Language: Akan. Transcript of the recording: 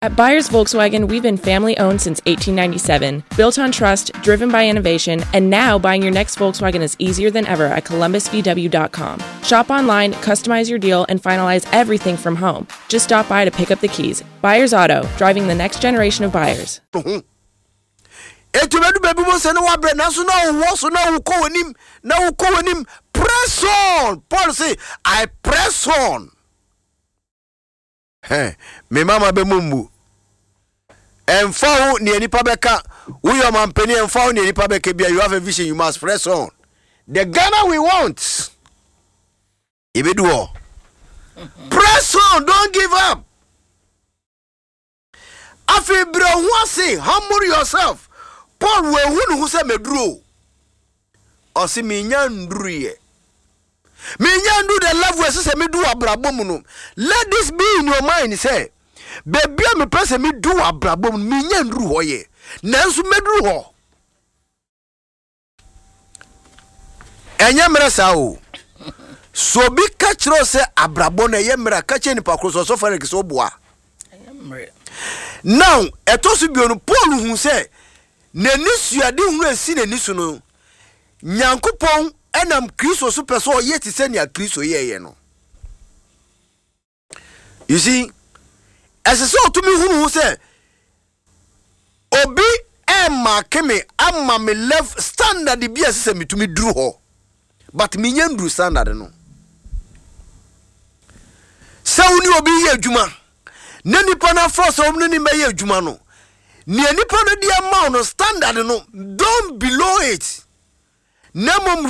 At Buyers Volkswagen, we've been family owned since 1897, built on trust, driven by innovation, and now buying your next Volkswagen is easier than ever at columbusvw.com. Shop online, customize your deal, and finalize everything from home. Just stop by to pick up the keys. Buyers Auto, driving the next generation of buyers. Enti obedu baabi mu sɛ na wabrɛ nanso na ɔwɔ so na wokɔ w'anim na wokɔ w'anim press on Paul say I press on. Hɛ, me mama bɛ mu mmu. Ɛmfa ho nea nipa bɛka, woyɛ ɔmampanin ɛmfa ho nea nipa bɛka bia, you have a vision, you must press on. The Ghana we want. Yɛbɛdu hɔ. Press on, don't give up. Afei brɛ wo ho ase, humble yourself. Paul wanhu ne ho sɛ maduru o. Ɔse menya nduruiɛ. Menya ndu the level ɛsɛ sɛ medu wɔ abrabɔ mu no. Let this be in your mind sɛ baabi a mepɛ sɛ medu wɔ abrabɔ mu no menya nduru hɔ yɛ. Nanso mɛduru hɔ. Ɛnyɛ mmerɛ saa o. So obi ka kyerɛ wo sɛ abrabɔ no ɛyɛ mmerɛ a, ka kyerɛ nipa koro sɛ ɔsɔfo Eric sɛ ɔboa. Now, ɛtɔ so bio no, Paul hu sɛ n'ani suadehunu a ɛsi n'ani so no, Nyankopɔn nam Kristo so pɛ sɛ ɔyɛ te sɛ nea Kristo yɛeɛ no. You see, ɛsɛ sɛ ɔtumi hunu ho sɛ obi ɛmmaake me ama me level standard bi a ɛsɛ sɛ metumi duru hɔ but menya nduru standard no. Sɛ wo ne obi yɛ adwuma na nipa no afrɛ sɛ wɔn ne ne bɛyɛ adwuma no, nea nipa no de ama wo no standard no, don't below it. Na mmom